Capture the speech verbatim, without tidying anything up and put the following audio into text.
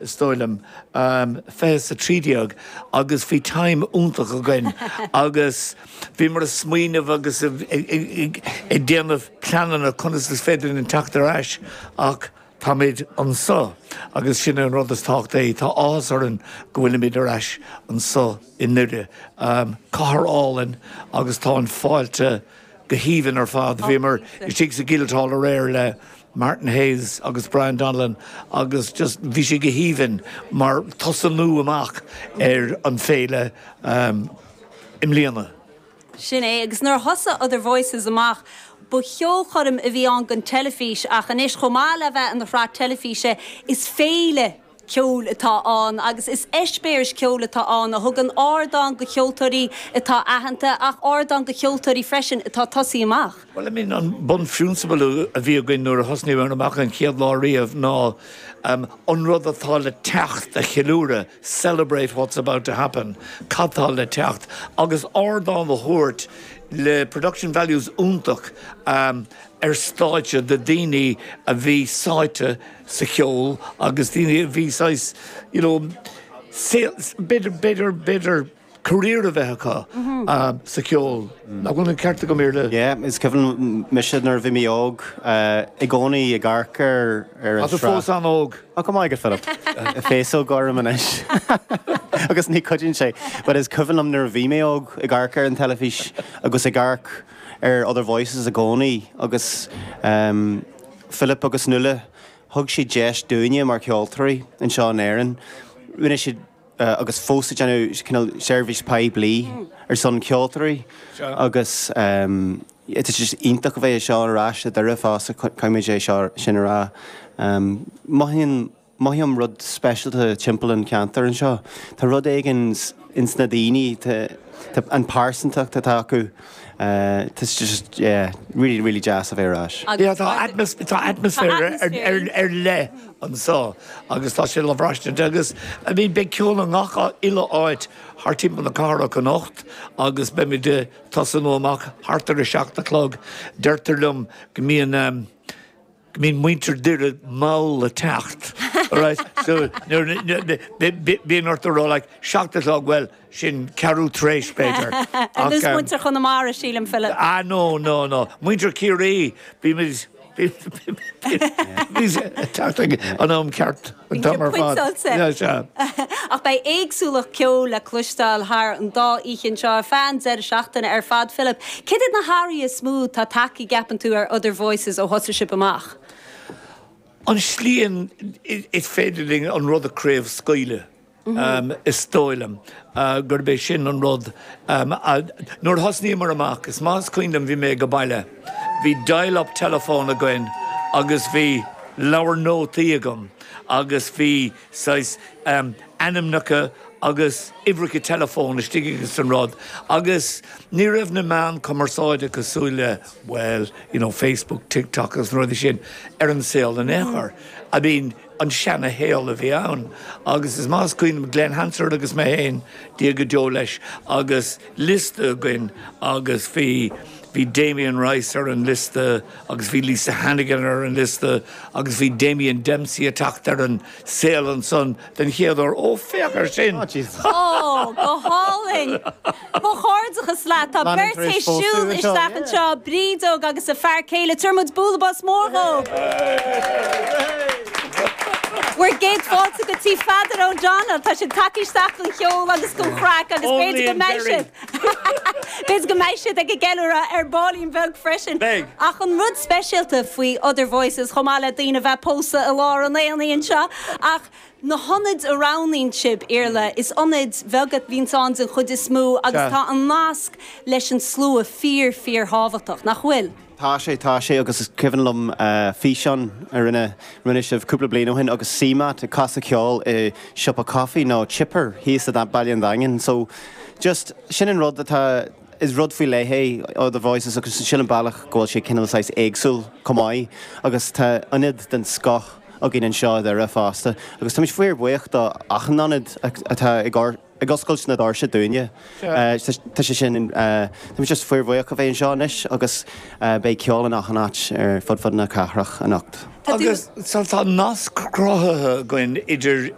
Is dóigh liom fiche is a trí déag agus bhí time iontach againn agus bhíomar ag smaoineamh agus ag déanamh pleananna conas is féidir linn teacht ar ais ach táimid anseo agus sin an rud is tábhachtaí. Tá áthas orainn go bhfuilimid ar ais anseo i nDoire. Cathair álainn agus tá an fáilte go haoibhinn ar fad. Bhíomar istigh sa Guildhall aréir le Martin Hayes agus Brian Donnellan agus just bhí sé go haoibhinn mar tosnú amach ar an féile um, i mbliana. Sin é agus nuair a thosaigh Other Voices amach, ba cheolchoirm a bhí ann don teilifís ach anois chomh maith le bheith ina shraith teilifíse is féile ceoil atá ann agus is eispéireas ceoil atá ann a thugann ardán do cheoltóirí atá aitheanta ach ardán do cheoltóirí freisin atá ag tosaí amach. Well I mean an bunphrionsabal a bhí againn nuair a thosnaíomar amach an chéad lá riamh ná um, an rud atá le teacht a cheiliúradh, celebrate what's about to happen, cad tá le teacht, agus ardán a thabhairt le production values iontach um, ar stáitse do daoine a bhí sáite sa cheol agus daoine a bhí saghas you know, b'fhéidir b'fhéidir b'fhéidir career a bheith acu um, sa cheol. Nach bhfuil an ceart agam le Yeah, is cuimhin mise nuair a bhí mé óg i gcónaí ag amharc ar ar an Tá fós an-óg. Á go maith Philip Féasóg orm anois. agus ní chuidíonn sé, but is cuimhin liom nuair a bhí mé óg ag amharc ar an teilifís agus ag amharc ar Other Voices i gcónaí agus um, Philip agus Nuala thug siad deis dúinne mar cheoltóirí anseo in Éirinn. Rinne siad uh, agus fós déanamh cineál seirbhís poiblí ar son ceoltóirí agus um, It's just iontach a bheith seo ar ais i nDoire fosta caithfidh é seo sin a rá. Um, Mothaíonn mothaím rud speisialta timpeall an ceantar anseo. Tá rud éigin ins na daoine an pearsantacht atá acu. Uh, Tá just yeah, really really deas a bheith ar ais. Yeah, tá tá atmaisféar ar leith anseo agus tá sé le braistint agus I mean beidh ceol i ngach uile áit thart timpeall na cathrach anocht agus beimid ag tosnú amach thart ar a seacht a chlog deirtear liom go mbíonn um, go mbíonn muintir Doire mall le teacht. Right? So bíonn ort rá like seacht a chlog well sin ceathrú tar éis b'fhéidir. Agus muintir Chonamara sílim Philip. Ah no no no Muintir Ciarraí bí teacht an am ceart an t-am ar fad. Ach beidh éagsúlacht ceoil le cloisteáil thar an dá oíche seo ar feadh an deireadh seachtaine ar fad Philip. Cad iad na hathruithe is mó atá tagtha ceapann tú ar Other Voices ó thosaigh sibh amach. An slí is féidir linn an rud a chraobhscaoileadh. Um, is dóigh liom uh, gurb é sin an rud um, uh, nuair thosnaíomar amach is maith is cuimhin liom bhí mé go baile. Bhí dial-up telephone againn agus bhí leabhar nótaí agam agus bhí saghas um, ainmneacha agus uimhreacha telefón istigh agus an rud agus ní raibh na meáin cumarsáide cosúil le well you know Facebook TikTok agus na rudaí sin ar an saol in aon chor. I mean an seanashaol a bhí ann agus is maith is cuimhin Glen Hansard agus mé féin Dia go deo leis agus liosta againn agus bhí bhí Damien Rice ar an liosta agus bhí Lisa Hannigan ar an liosta agus bhí Damien Dempsey ag teacht ar an saol ansan den chéad uair ó féach ar sin. Ó go hálainn Mo chairdeachas le tá beirt tar éis siúl isteach anseo Brídóg agus a fear céile tabhair muid bualadh bos mór dóibh. Bhur gcéad fáilte go tí Pheadar O'Donnell Tá siad tagtha isteach don cheol agus don chraic agus b'fhéidir go mbeidh siad. B'fhéidir go mbeidh siad ag ceiliúradh ar baillín beag freisin. Ach an rud speisialta faoi Other Voices chomh maith le daoine bheith pósta i lár an aonaigh anseo ach na hionaid a roghnaíonn sibh Iarla is ionaid bheaga a bhíonn ann den chuid is mó agus tá an nasc leis an slua fíor fíorthábhachtach nach bhfuil. Tá sé tá sé agus is cuimhin liom uh, físeán a rinne rinne sibh cúpla bliain ó shin agus CMAT ag casadh ceol i siopa coffee nó chipper thíos i Baile an Daingin. So just sin an rud atá is rud faoi leith é Other Voices agus sin an bealach go bhfuil sé cineál saghas éagsúil chomh maith agus tá ionad den scoth againn anseo i nDoire fosta agus tá muid fíorbhuíoch do achan ionad atá ag ag oscailt na doirse dúinne. Tá sé sin Tá just fíorbhuíoch a bheith anseo anois agus beidh ceol in achan áit ar fud fud na cathrach anocht. Agus tá nasc cruthaithe againn idir